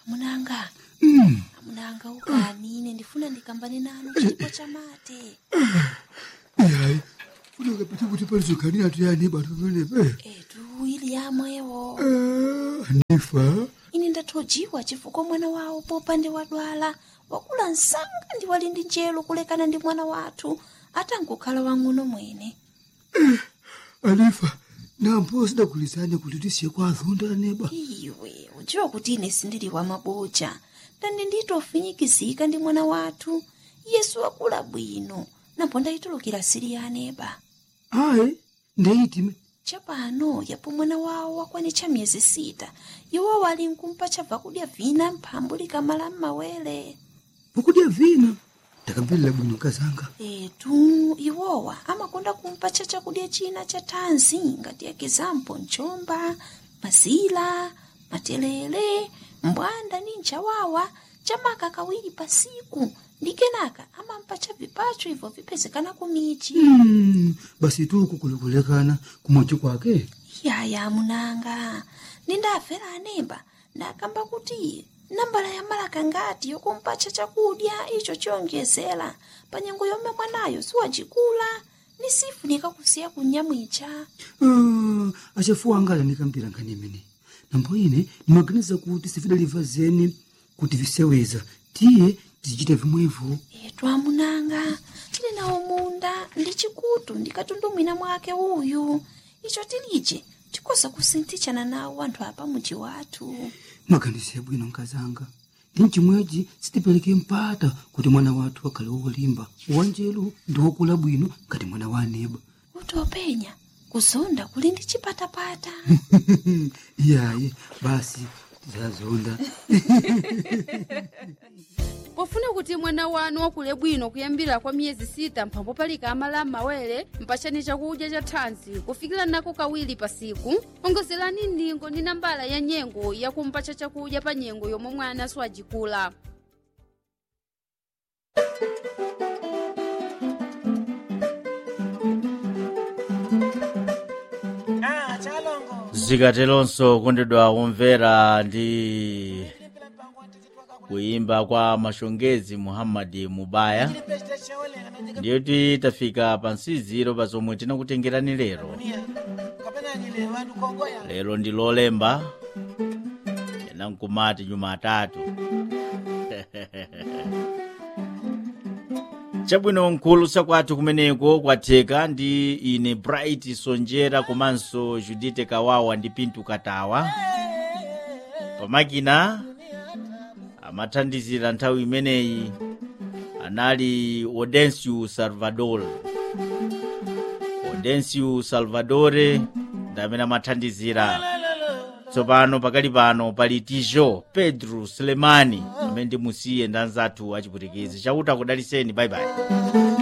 Amunanga, amunanga, ukani ine ndifuna ndikambane nanu chipo chamate. Ihayi, funeka phethe ukuthi palizogani yathu yani batumelebe. Etu ili yamwewo. Anifa, Ine ndathojiwa chifukwa mwana wawo popande wadwala wakula msanga ndi wali ndi njelo kulekana ndi mwana wathu atangokhala wang'ono mwene. Anifa, nampo sidagulizane kuti tisiye kwa azonda neba. Iwe udziwa kuti ine sindili wa maboja ndandi nditofinyikizika ndi mwana wathu yesu wakula bwino napo ndayitulukira sili ya aneba. Ayi, ndeyitime. Chapano yapo mwana wawo wakwanitcha miyezi 6, iwo wali nkumpa chabva kudya vina mphambu likamala m'mawere. Pokudya vina, ndakambirira bwino kazanga. Etu iwowa amakonda kumpatcha chakudya china cha thanzi ngati ekizampo mchomba, mazila, matelele, mbwanda ni nchawawa chamaka kawiri pasiku ndi kenaka amampatcha vipacho ibvo vipezekana kumichi. Basi tuku kulikulekana kumochi kwake. Yaya munanga, nindafera anemba ndakamba kuti nambala ya malaka ngati yokumpatcha chakudya icho chiyonjezera pa nyengo yomwe mwanayo siwacikula ni sifunika kusiya kunyamwicha. Ah, achafuwa angala nikambira nkhani imene. Nambo ine nimaganiza kuti sifidaliva zeni kuti viseweza tiye tizichita vimwevo. Etu amunanga, tili nawo munda ndi chikutu ndi katundu mwina mwake uyu icho tilije tikoza kusinthitshana nawo anthu apa muji wathu. Maganizo yabwino nkazanga, ndi mchimwechi sitipereke mpata kuti mwana wathu akhale wolimba, wanjelu ndi wokula bwino ngati mwana wa aneba. Kuti openya kuzonda kuli ndi chipatapata. Iyayi, basi tizazonda. Pofuna kuti mwana wanu wakule bwino kuyambira kwa miyezi 6 mphambo palika amala m'mawere, mpachani chakudya cha thanzi kufikira nako kawiri pasiku, ongozerani ndingo ndi nambala ya nyengo yakumpatcha chakudya pa nyengo yomwe mwana siwajikula. Zikatelonso kondedwa kumvera ndi kuimba kwa mashongezi Muhammad Mubaya, ndiyoti tafika pa nsiziro pa zomwe tinakutengerani lero. Lero ndi lolemba, ena nkumati Jumatatu. Chabwino, mkhulu sakwathu kumeneko kwatheka ndi ine Bright Sonjera komanso Judite Kawawa ndi Pintu Katawa pamakina. Amathandizira nthawi imeneyi anali Odencio Salvador. Odencio Salvadore ndi amene amathandizira. Tsopano pakali pano pali Tijo Pedro Sulemani amene ndimusiye ndi anzathu achipwitikizi. Chauta kudaliseni, bayibayi.